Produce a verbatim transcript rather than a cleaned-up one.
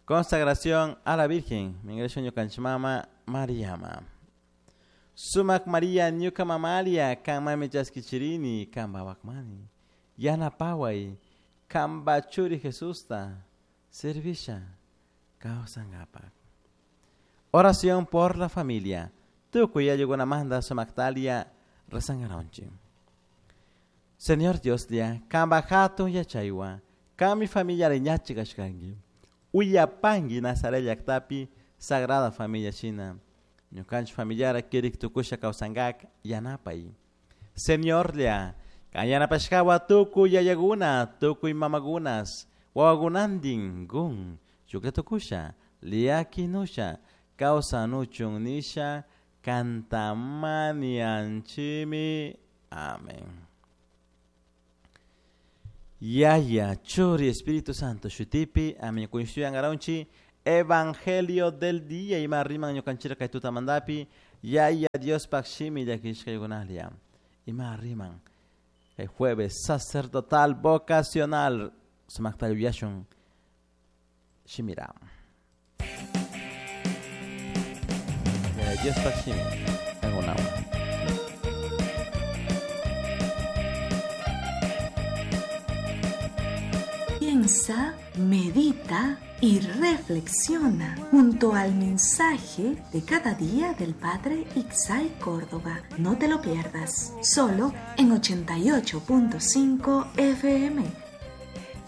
Consagración a la Virgen, mingrasho ñukanchik mama Mariama. Sumak Maria ñuka mamalia, kan mami chaskichirini, kan wawakmani. Yanapaway, kanpa churi Jesusta, servisha, kawsankapak. Oración por la familia. Tukuy ayllunamanta sumaktalia rezangaronchik. Señor Dios lia, kanpa hatun yachaywan, kanmi familia ñachik kashkanki. Uyapanki Nazaret llaktapi Sagrada Familia shina. Ñukanchik familiara kirik tukusha kawsankak yanapay. Señor lia, kan yanapashkawa tukuy yayakuna, tukuy mamakunas, wawakunantin gun, shuklla tukusha, llakinusha, kawsanuchun nisha, kantamanianchimi. Amén. Yaya, Churi, Espíritu Santo, shutipi, amén. Kunshuyan Evangelio del día, ima riman ñukanchira kay tutamandapi, Yaya Dios pak shimi llakishkaykunalia. Ima riman. El jueves sacerdotal vocacional, sumakta yuyashun shimira. Yaya Dios pak shimi, kankunawan. Piensa, medita y reflexiona junto al mensaje de cada día del Padre Ixay Córdoba. No te lo pierdas, solo en ochenta y ocho punto cinco F M.